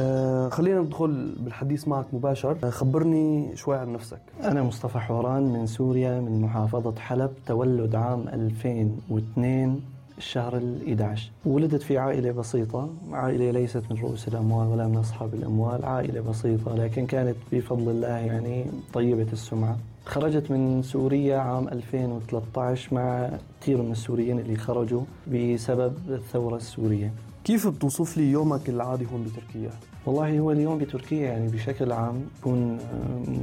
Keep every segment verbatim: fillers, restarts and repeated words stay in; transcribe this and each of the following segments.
آه خلينا ندخل بالحديث معك مباشر. آه خبرني شوي عن نفسك. أنا مصطفى حوران من سوريا، من محافظة حلب، تولد عام ألفين واثنين الشهر الأحد عشر. ولدت في عائلة بسيطة، عائلة ليست من رؤوس الأموال ولا من أصحاب الأموال، عائلة بسيطة لكن كانت بفضل الله يعني طيبة السمعة. خرجت من سوريا عام ألفين وثلاثة عشر مع كثير من السوريين اللي خرجوا بسبب الثورة السورية. كيف بتوصف لي يومك العادي هون بتركيا؟ والله هو اليوم بتركيا يعني بشكل عام بيكون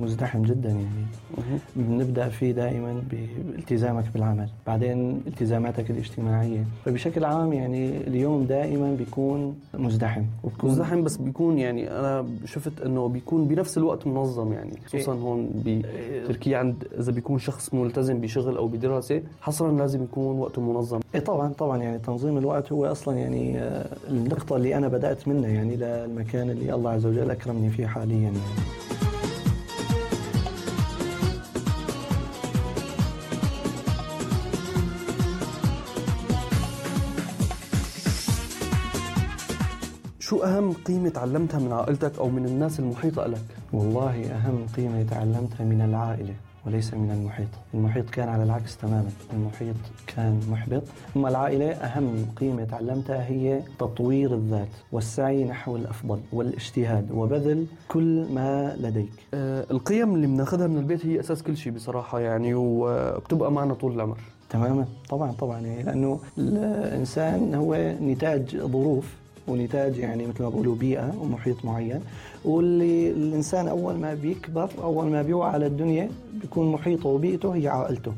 مزدحم جدا، يعني بنبدأ فيه دائما بالتزامك بالعمل، بعدين التزاماتك الاجتماعية، فبشكل عام يعني اليوم دائما بيكون مزدحم. مزدحم بس بيكون يعني أنا شفت أنه بيكون بنفس الوقت منظم، يعني خصوصا هون بتركيا عند إذا بيكون شخص ملتزم بشغل أو بدراسة حصرا لازم يكون وقته منظم. إيه طبعا طبعا يعني تنظيم الوقت هو أصلا يعني النقطة اللي أنا بدأت منها يعني للمكان اللي الله عز وجل أكرمني فيه حاليا يعني. شو أهم قيمة تعلمتها من عائلتك أو من الناس المحيطة لك؟ والله أهم قيمة تعلمتها من العائلة وليس من المحيط. المحيط كان على العكس تماما، المحيط كان محبط. أما العائلة أهم قيمة تعلمتها هي تطوير الذات والسعي نحو الأفضل والاجتهاد وبذل كل ما لديك. أه القيم اللي بناخدها من البيت هي أساس كل شيء بصراحة يعني، وبتبقى معنا طول العمر. تماما طبعا طبعا يعني لأنه الإنسان هو نتاج ظروف ونتاج يعني مثل ما بقولوا بيئة ومحيط معين، واللي الإنسان أول ما بيكبر أول ما بيوعى على الدنيا بيكون محيطه وبيئته هي عائلته،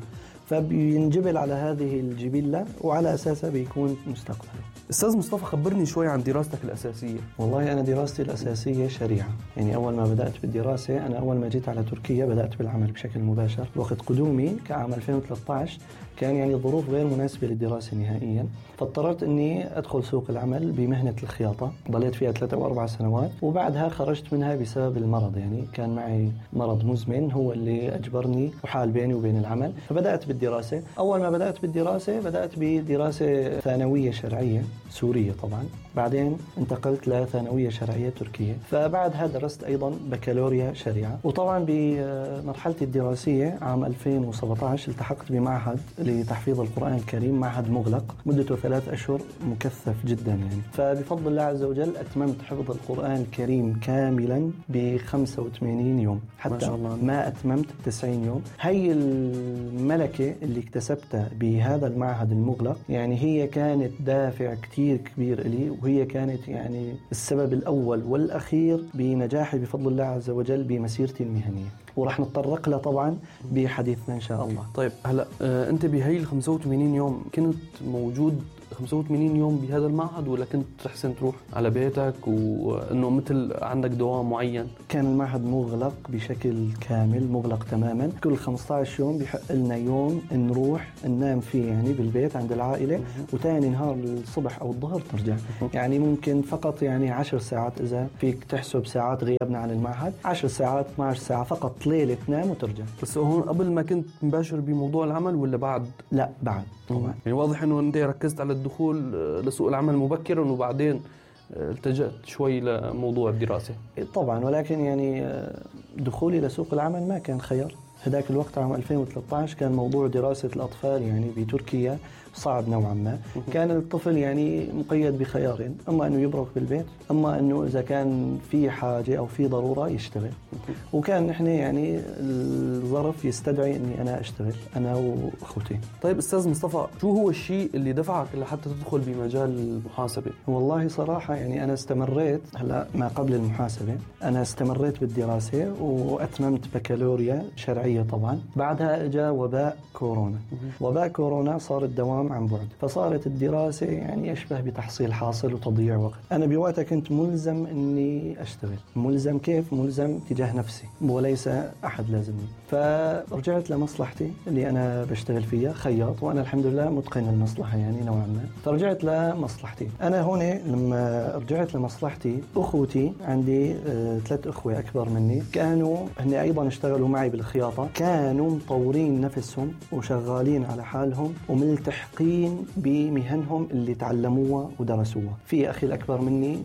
فبينجبل على هذه الجبلة وعلى أساسها بيكون مستقبله. أستاذ مصطفى خبرني شوي عن دراستك الأساسية. والله أنا دراستي الأساسية شريعة، يعني أول ما بدأت بالدراسة أنا أول ما جيت على تركيا بدأت بالعمل بشكل مباشر. وقت قدومي كعام ألفين وثلاثة عشر كان يعني الظروف غير مناسبة للدراسة نهائيا، فاضطررت أني أدخل سوق العمل بمهنة الخياطة، ضليت فيها ثلاثة أو أربع سنوات وبعدها خرجت منها بسبب المرض. يعني كان معي مرض مزمن هو اللي أجبرني وحال بيني وبين العمل، فبدأت بالدراسة. أول ما بدأت بالدراسة بدأت بدراسة ثانوية شرعية سورية طبعا، بعدين انتقلت لثانوية شرعية تركية، فبعدها درست أيضا بكالوريا شريعة. وطبعا بمرحلتي الدراسية عام ألفين وسبعة عشر التحقت بمعهد لتحفيظ القرآن الكريم، معهد مغلق مدته ثلاث أشهر مكثف جدا يعني. فبفضل الله عز وجل أتممت حفظ القرآن الكريم كاملا ب خمسة وثمانين يوم، حتى ما, شاء الله. ما أتممت تسعين يوم. هي الملكة اللي اكتسبتها بهذا المعهد المغلق يعني هي كانت دافع كتير كبير لي، وهي كانت يعني السبب الأول والأخير بنجاحي بفضل الله عز وجل بمسيرتي المهنية، ورح نتطرق لها طبعا بحديثنا إن شاء الله. طيب هلأ آه أنت بهي ال خمسة وثمانين يوم كنت موجود خمسة وثمانين يوم بهذا المعهد ولا كنت تحسن تروح على بيتك وأنه مثل عندك دوام معين؟ كان المعهد مغلق بشكل كامل، مغلق تماما. كل خمسة عشر يوم بيحق لنا يوم نروح ننام فيه يعني بالبيت عند العائلة، وتاني نهار الصبح أو الظهر ترجع. يعني ممكن فقط يعني عشر ساعات إذا فيك تحسب ساعات غيابنا عن المعهد، عشر ساعات اثنتي عشرة ساعة فقط ليلة تنام وترجع. بس هون قبل ما كنت مباشر بموضوع العمل ولا بعد؟ لا بعد طبعا. يعني واضح أنه أنت ركزت على الدخول لسوق العمل مبكرا وبعدين التجأت شوي لموضوع الدراسة. طبعا، ولكن يعني دخولي لسوق العمل ما كان خيار. هذاك الوقت عام ألفين وثلاثة عشر كان موضوع دراسة الأطفال يعني بتركيا صعب نوعا ما. كان الطفل يعني مقيد بخيارين، أما أنه يبرك بالبيت، أما أنه إذا كان في حاجة أو في ضرورة يشتغل. وكان نحن يعني الظرف يستدعي أني أنا أشتغل أنا وأخوتي. طيب أستاذ مصطفى، شو هو الشيء اللي دفعك لحتى تدخل بمجال المحاسبة؟ والله صراحة يعني أنا استمريت هلا ما قبل المحاسبة، أنا استمريت بالدراسة وأتممت بكالوريا شرعية طبعا. بعدها جاء وباء كورونا. وباء كورونا صار الدوام عن بعد، فصارت الدراسة يعني أشبه بتحصيل حاصل وتضييع وقت. أنا بوقتها كنت ملزم أني أشتغل. ملزم كيف؟ ملزم تجاه نفسي وليس أحد لازمني. فرجعت لمصلحتي اللي أنا بشتغل فيها خياط، وأنا الحمد لله متقن المصلحة يعني نوعا ما. فرجعت لمصلحتي. أنا هون لما رجعت لمصلحتي أخوتي عندي آه ثلاث أخوة أكبر مني كانوا هن أيضا اشتغلوا معي بالخياطة الخياطة كانوا مطورين نفسهم وشغالين على حالهم وملتحقين بمهنهم اللي تعلموها ودرسوها. في أخي الأكبر مني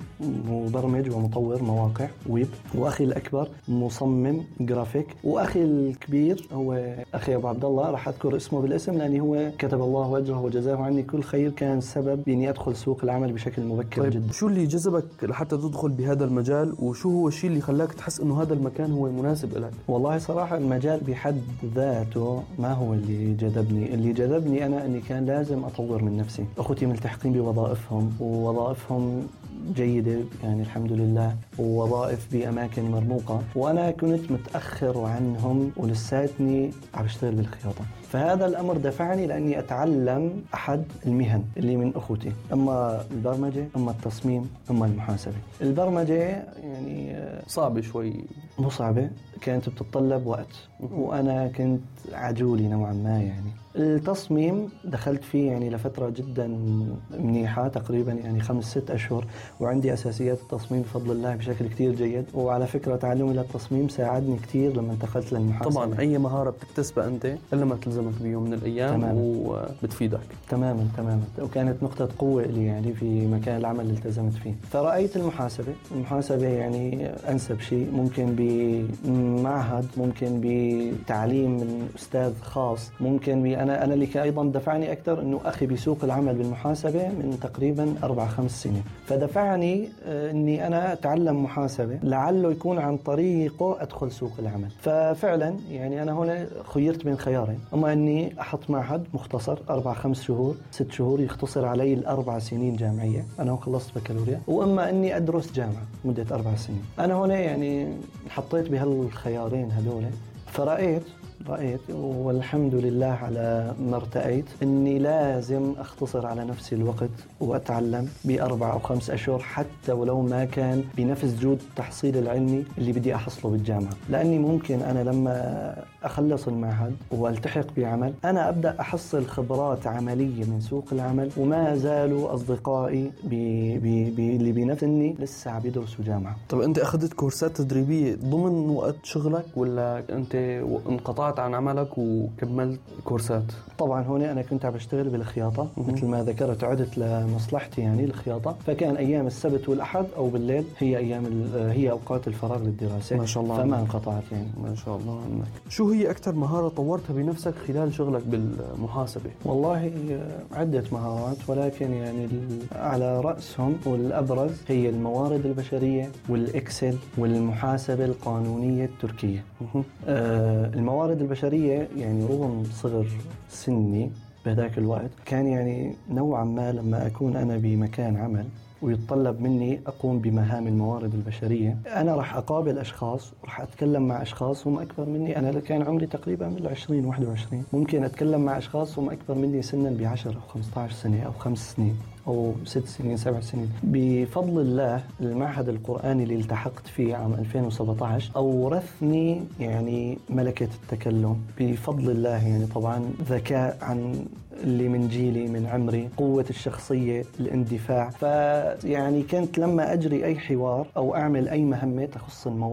مبرمج ومطور مواقع ويب، وأخي الأكبر مصمم جرافيك، وأخي الكبير هو أخي أبو عبد الله، راح أذكر اسمه بالاسم لأني هو كتب الله أجره وجزاه عني كل خير، كان سبب بإني أدخل سوق العمل بشكل مبكر. طيب جدا. شو اللي جذبك لحتى تدخل بهذا المجال، وشو هو الشيء اللي خلاك تحس إنه هذا المكان هو مناسب لك؟ والله صراحة المجال بحد ذاته ما هو اللي جذبني، اللي جذبني أنا أني كان لازم أطور من نفسي. أخوتي ملتحقين بوظائفهم ووظائفهم جيدة يعني الحمد لله، ووظائف بأماكن مرموقة، وأنا كنت متأخر عنهم ولساتني عم بشتغل بالخياطة. فهذا الأمر دفعني لأني أتعلم أحد المهن اللي من أخوتي، أما البرمجة أما التصميم أما المحاسبة. البرمجة يعني صعبة شوي، مو صعبة، كانت بتتطلب وقت وأنا كنت عجولي نوعا ما. يعني التصميم دخلت فيه يعني لفترة جدا منيحة، تقريبا يعني خمس ست أشهر، وعندي أساسيات التصميم بفضل الله بشكل كتير جيد. وعلى فكرة تعلمي للتصميم ساعدني كتير لما انتقلت للمحاسبة. طبعا أي مهارة بتكتسبها أنت إلا ما تلزمك بيوم من الأيام تماماً. وبتفيدك تماما تماما، وكانت نقطة قوة لي يعني في مكان العمل اللي التزمت فيه. فرأيت المحاسبة المحاسبة يعني أنسب شيء، ممكن بمعهد، ممكن بتعليم من أستاذ خاص، ممكن ب أنا أنا اللي أيضا دفعني أكثر إنه أخي بسوق العمل بالمحاسبة من تقريبا أربع خمس سنين، فدفعني إني أنا أتعلم محاسبة لعله يكون عن طريقه أدخل سوق العمل. ففعلا يعني أنا هنا خيرت بين خيارين، أما إني أحط معهد مختصر أربع خمس شهور ست شهور يختصر علي الأربع سنين جامعية، أنا خلصت بكالوريا، وأما إني أدرس جامعة مدة أربع سنين. أنا هنا يعني حطيت بهالخيارين هذول، فرأيت رأيت والحمد لله على ما ارتأيت إني لازم أختصر على نفسي الوقت وأتعلم بأربع أو خمس أشهر، حتى ولو ما كان بنفس جود التحصيل العلمي اللي بدي أحصله بالجامعة، لأني ممكن أنا لما أخلص المعهد والتحق بعمل أنا أبدأ أحصل خبرات عملية من سوق العمل، وما زالوا أصدقائي بي بي بي اللي بنفسني لسه عم يدرسوا جامعة. طب أنت أخذت كورسات تدريبية ضمن وقت شغلك ولا أنت انقطعت عن عملك وكملت كورسات؟ طبعا هنا أنا كنت عم بشتغل بالخياطة مثل ما ذكرت، عدت لمصلحتي يعني الخياطة، فكان أيام السبت والأحد أو بالليل هي أيام هي أوقات الفراغ للدراسة. ما شاء الله فما عنك. انقطعت يعني. ما شاء الله عنك. شو هي أكثر مهارة طورتها بنفسك خلال شغلك بالمحاسبة؟ والله عدة مهارات، ولكن يعني على رأسهم والأبرز هي الموارد البشرية والإكسل والمحاسبة القانونية التركية. آه الموارد البشرية يعني رغم صغر سني بهذاك الوقت كان يعني نوعا ما لما أكون أنا بمكان عمل ويتطلب مني أقوم بمهام الموارد البشرية، أنا راح أقابل أشخاص وراح أتكلم مع أشخاص هم أكبر مني. أنا كان عمري تقريبا من العشرين واحد وعشرين، ممكن أتكلم مع أشخاص هم أكبر مني سنا بعشر أو خمسة عشر سنة أو خمس سنين أو ست سنين سبع سنين. بفضل الله المعهد القرآني اللي التحقت فيه عام ألفين وسبعة عشر أورثني يعني ملكة التكلم بفضل الله، يعني طبعا ذكاء عن اللي من جيلي من عمري، قوة الشخصية، الاندفاع. فيعني كنت لما أجري أي حوار أو أعمل أي مهمة تخص الموضوع